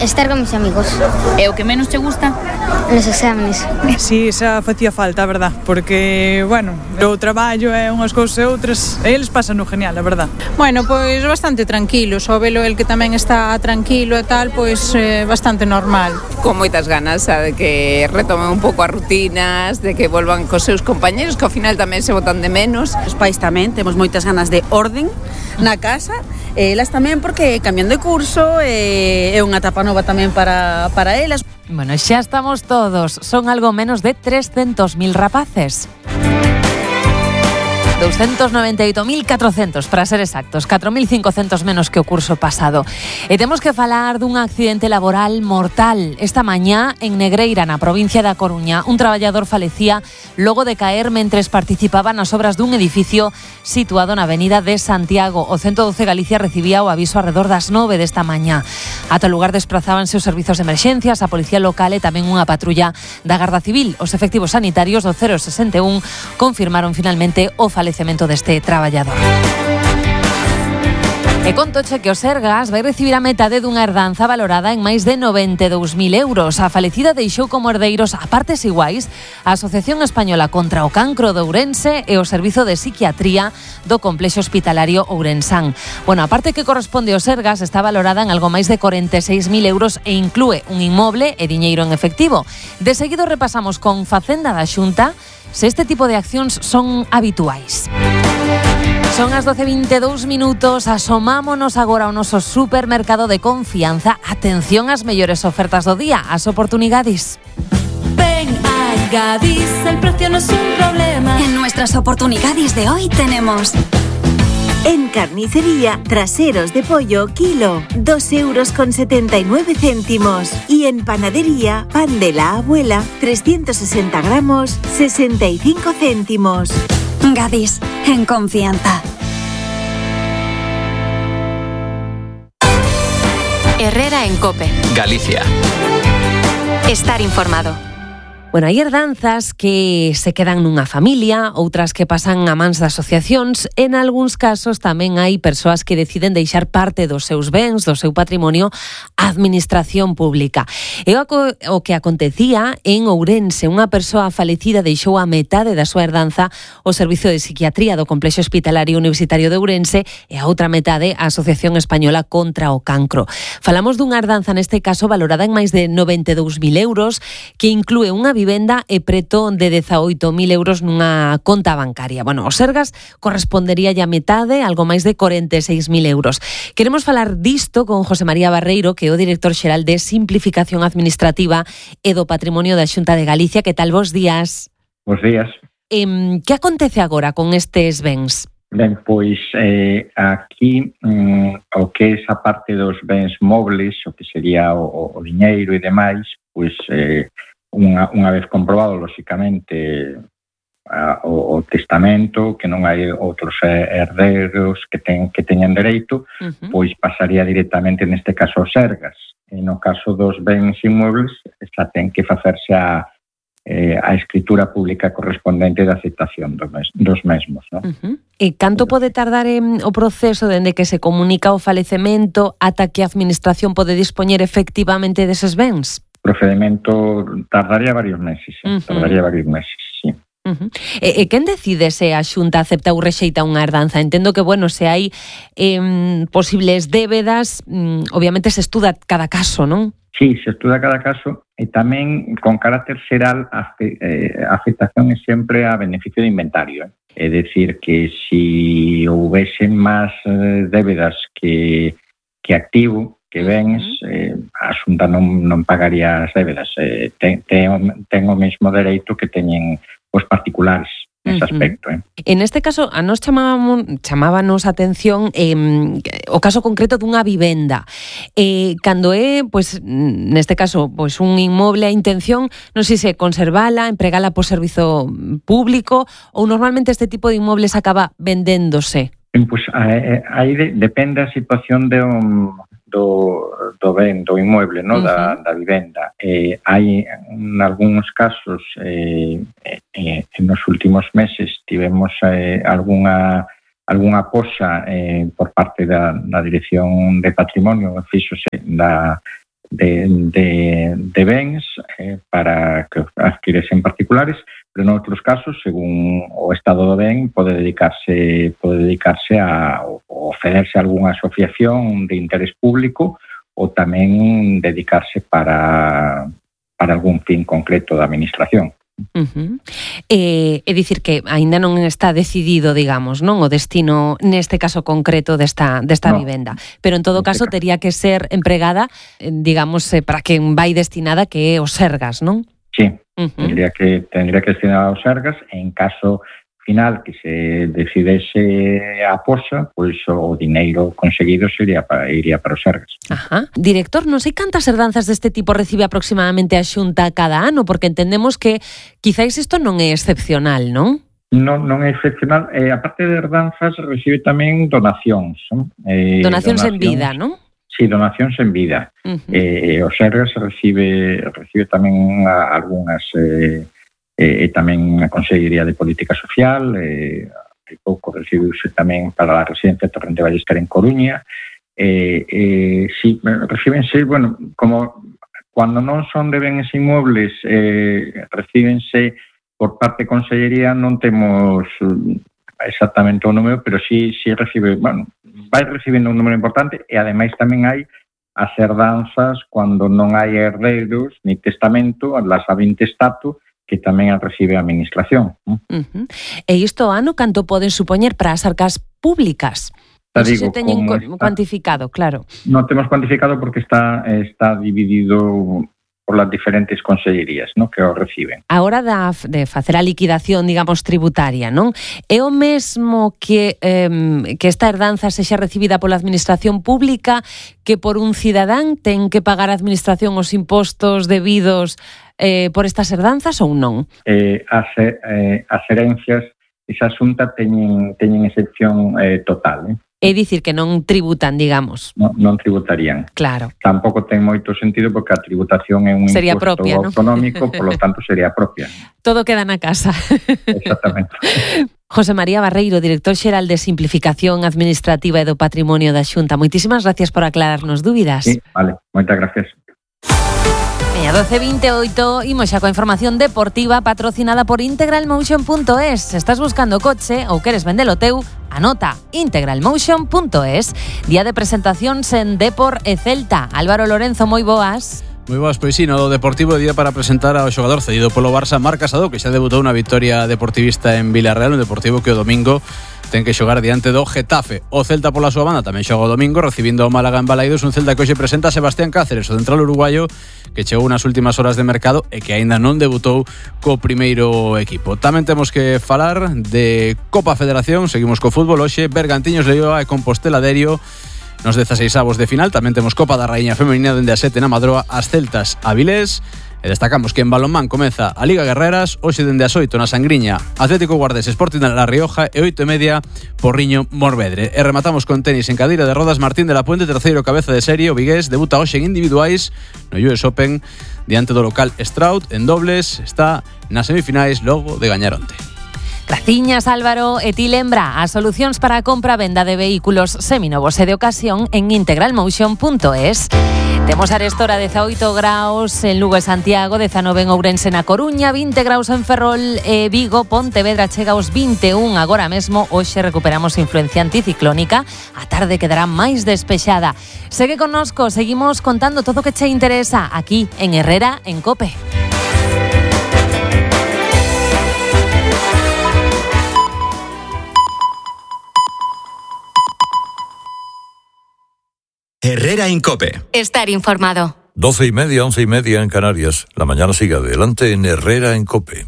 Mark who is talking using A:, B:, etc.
A: Estar con mis amigos.
B: E o que menos te gusta?
A: Los exámenes.
C: Sí, esa facía falta, a verdad, porque, bueno, o traballo é unhas cousas e outras, e eles pasan no genial, a verdad.
D: Bueno, pois bastante tranquilo, só velo el que tamén está tranquilo e tal, pois bastante normal.
E: Con moitas ganas de que retomen un pouco as rutinas, de que volvan cos seus compañeros, que ao final tamén se botan de menos.
F: Os pais tamén temos moitas ganas de orden na casa, e elas tamén porque cambian de curso, é unha etapa nova tamén para elas.
G: Bueno, xa estamos todos, son algo menos de 300.000 rapaces. 298.400 para ser exactos, 4.500 menos que o curso pasado. E temos que falar dun accidente laboral mortal. Esta mañá, en Negreira, na provincia da Coruña, un traballador falecía logo de caer mentres participaba nas obras dun edificio situado na avenida de Santiago. O 112 Galicia recibía o aviso arredor das 9 desta mañá. Ata o lugar desprazábanse os servizos de emerxencias, a policía local e tamén unha patrulla da Garda Civil. Os efectivos sanitarios do 061 confirmaron finalmente o falecemento deste traballador. E contoche que o Sergas vai recibir a metade dunha herdanza valorada en máis de 92.000 euros. A falecida deixou como herdeiros a partes iguais a Asociación Española contra o Cancro de Ourense e o Servizo de Psiquiatría do Complexo Hospitalario Ourensán. Bueno, a parte que corresponde ao Sergas está valorada en algo máis de 46.000 euros e inclúe un inmoble e diñeiro en efectivo. De seguido repasamos con Facenda da Xunta se este tipo de accións son habituais. Son as 12:22 minutos, asomámonos agora ao noso supermercado de confianza. Atención ás mellores ofertas do día, as oportunidades.
H: Ven a Gadis, el precio no es un problema. En nuestras oportunidades de hoy tenemos...
I: En carnicería, traseros de pollo, kilo, 2,79 €. Y en panadería, pan de la abuela, 360 gramos, 65 céntimos.
H: Gadis, en confianza.
J: Herrera en COPE.
K: Galicia.
J: Estar informado.
G: Bueno, hai herdanzas que se quedan nunha familia, outras que pasan a mans de asociacións. En algúns casos tamén hai persoas que deciden deixar parte dos seus bens, do seu patrimonio, á administración pública. E o que acontecía en Ourense, unha persoa falecida deixou a metade da súa herdanza ao Servizo de Psiquiatría do Complexo Hospitalario Universitario de Ourense e a outra metade á Asociación Española contra o Cancro. Falamos dunha herdanza neste caso valorada en máis de 92.000 euros, que inclúe unha vivenda e preto de 18.000 euros nunha conta bancaria. Bueno, os Sergas correspondería a metade, algo máis de 46.000 euros. Queremos falar disto con José María Barreiro, que é o director xeral de Simplificación Administrativa e do Patrimonio da Xunta de Galicia. Que tal? Bos días.
L: Bos días.
G: Que acontece agora con estes bens?
L: Ben, pois aquí o que é esa parte dos bens mobles, o que sería o diñeiro e demais, pois unha vez comprobado, lóxicamente, o testamento, que non hai outros herdeiros que teñan dereito, pois pasaría directamente neste caso aos Sergas. E no caso dos bens inmuebles, xa ten que facerse a escritura pública correspondente de aceptación dos mesmos, non?
G: E canto pode tardar o proceso dende que se comunica o falecemento ata que a administración pode dispoñer efectivamente deses bens?
L: O procedimento tardaría varios meses, sí.
G: E quen decide se a Xunta acepta ou rexeita unha herdanza? Entendo que, bueno, se hai posibles débedas, obviamente se estuda cada caso, non?
L: Sí, se estuda cada caso e tamén con carácter xeral a aceptación é sempre a beneficio de inventario. É dicir que se houvesen máis débedas que activo, que bens, a Xunta non pagaría as débedas. Ten o mesmo dereito que teñen os particulares nese aspecto.
G: En este caso, a nos chamábanos a atención o caso concreto dunha vivenda. Cando é, pois, neste caso, pois un inmoble, a intención, non sei se conservala, empregala por servizo público, ou normalmente este tipo de inmobles acaba vendéndose?
L: Pois aí depende a situación do ben, do inmueble, no? Da vivenda. Hai, en algúns casos, en nos últimos meses tivemos algunha algunha poxa por parte da Dirección de Patrimonio fíxose de bens para que adquiresen particulares, pero noutros casos, según o estado do ben, pode dedicarse a ofrecerse a algunha asociación de interés público ou tamén dedicarse para algún fin concreto da administración.
G: É dicir que aínda non está decidido, digamos, non o destino neste caso concreto desta vivenda, pero en todo caso tería que ser empregada, digamos, para quen vai destinada, que é o Sergas, non?
L: Sí, tendría que destinada aos Sergas, e en caso final que se decidese a poxa, pois o dineiro conseguido iría para os Sergas.
G: Ajá. Director, non sei cantas herdanzas deste tipo recibe aproximadamente a Xunta cada ano, porque entendemos que quizáis isto non é excepcional, non?
L: Non é excepcional. A parte de herdanzas recibe tamén donacións.
G: Donacións en vida, non?
L: Sí, donacións en vida. O Sergas recibe tamén algunhas... e tamén a Consellería de Política Social, hai pouco recibiuse tamén para a residencia Torrente Ballester en Coruña. Sí, recíbense, bueno, como cando non son de bens inmuebles, recíbense por parte de Consellería, non temos exactamente o número, pero sí recibe, bueno, vai recibendo un número importante, e ademais tamén hai as herdanzas cando non hai herdeiros ni testamento, las ab intestato, que tamén a recibe a administración.
G: E isto ano canto poden supoñer para as arcas públicas? Non sei se teñen cuantificado, claro.
L: Non temos cuantificado porque está dividido por las diferentes consellerías, ¿no?, que o reciben.
G: A hora de facer a liquidación, digamos, tributaria, non? É o mesmo que esta herdanza sexa recibida pola administración pública que por un cidadán ten que pagar a administración os impostos debidos por estas herdanzas ou non?
L: As herencias, esa xunta teñen excepción total,
G: É dicir que non tributan, digamos.
L: Non tributarían.
G: Claro.
L: Tampouco ten moito sentido porque a tributación é un
G: sería
L: imposto
G: propia,
L: autonómico, por lo tanto sería propia.
G: Todo queda na casa.
L: Exactamente.
G: José María Barreiro, director xeral de Simplificación Administrativa e do Patrimonio da Xunta. Moitísimas gracias por aclararnos dúbidas.
L: Sí, vale, moitas gracias.
G: 12:28, imos xa coa información deportiva patrocinada por integralmotion.es. Estás buscando coche ou queres vendelo teu? Anota integralmotion.es. Día de presentacións en Depor e Celta. Álvaro Lorenzo, moi boas.
K: Moi boas, pois sí, no Deportivo día para presentar ao xogador cedido polo Barça, Marc Casado, que xa debutou na victoria deportivista en Villarreal, un Deportivo que o domingo ten que xogar diante do Getafe. O Celta pola súa banda tamén xoga o domingo recibindo o Málaga en Balaidos, un Celta que hoxe presenta a Sebastián Cáceres, o central uruguayo que chegou nas últimas horas de mercado e que aínda non debutou co primeiro equipo. Tamén temos que falar de Copa Federación, seguimos co fútbol hoxe, Bergantiños Leioa e Compostela Derio nos 16avos de final. Tamén temos Copa da Raíña Femenina dende a 7 na Madroa, as Celtas Avilés. E destacamos que en balonmán comeza a Liga Guerreras, hoxe dende as 8 na Sangriña, Atlético Guardés Sporting de La Rioja e 8:30 Porriño Morvedre. E rematamos con tenis en cadeira de rodas. Martín de la Puente, terceiro cabeza de serie, o vigués, debuta hoxe en individuais no US Open diante do local Stroud. En dobles está nas semifinais logo de gañar onte.
G: Graciñas, Álvaro. E ti lembra as solucións para a compra-venda de vehículos seminovos e de ocasión en integralmotion.es. Temos arestora 18 graus en Lugo e Santiago, 19 en Ourense na Coruña, 20 graus en Ferrol e Vigo, Pontevedra chega aos 21 agora mesmo. Hoxe recuperamos influencia anticiclónica, a tarde quedará máis despexada. Segue connosco, seguimos contando todo o que che interesa aquí en Herrera en COPE.
M: Herrera en COPE.
J: Estar informado.
N: 12:30, 11:30 en Canarias. La mañana sigue adelante en Herrera en COPE.